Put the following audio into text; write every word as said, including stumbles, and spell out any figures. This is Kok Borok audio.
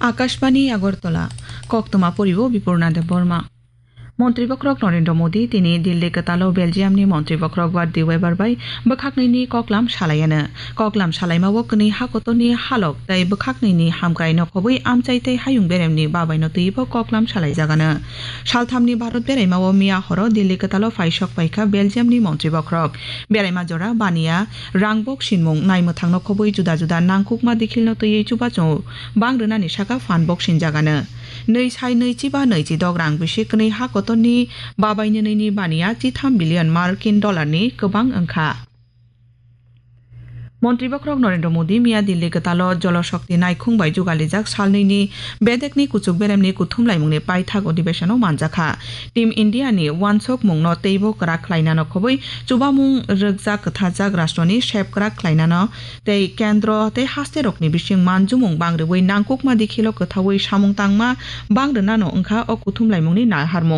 Akashbani Agartala, koktwma poribo Bipurna Debbarma. Montri Bokhorok Narendra Modi tini Delhi kwtalo Belgiumni Montri Bokhorok Bart de Wever bai bwkhaknwini koklam salaiano. Koklam salaimao kwnwi hakotorni halok tei bwkhaknwini hamkrai nokhobwi amchai tei hayung beremni babaino twibo koklam salaijagano. Salthamni Bharat beraimao miya horo Delhi kwtalo phaisok paikha Belgiumni Montri Bokhorok. Beraima jora baniya, rangbok sinmung, naimwthang nokhobwi juda juda nangkukma dikhilno twiwi chubachu bang rwnani saka phan bok sinjagano. Nwi sai nwi chiba nwi chidok rang bisi kwnwi hakotorni babainwini baniya chitham billion Markin dollarni kwbang wngkha. Montri Bokhorok Narendra Modi miya Delhi kwtalo Jolo Shakti naikhung bai jugalijak salnwini bedekni kuchuk beremni kuthumlaimungni paithak odibesonno manjakha. Team India ni wansokmungno teibo kwrak khlainano khobwi chubamung rwkjak kwtharjak rashtroni sep kwrak khlainano tei kendro tei hasterokni bising manjumung bang rwui nangkukma dikhilo kwthaui samung tangma bang rwnano wngkha o kuthumlaimungni naharmung.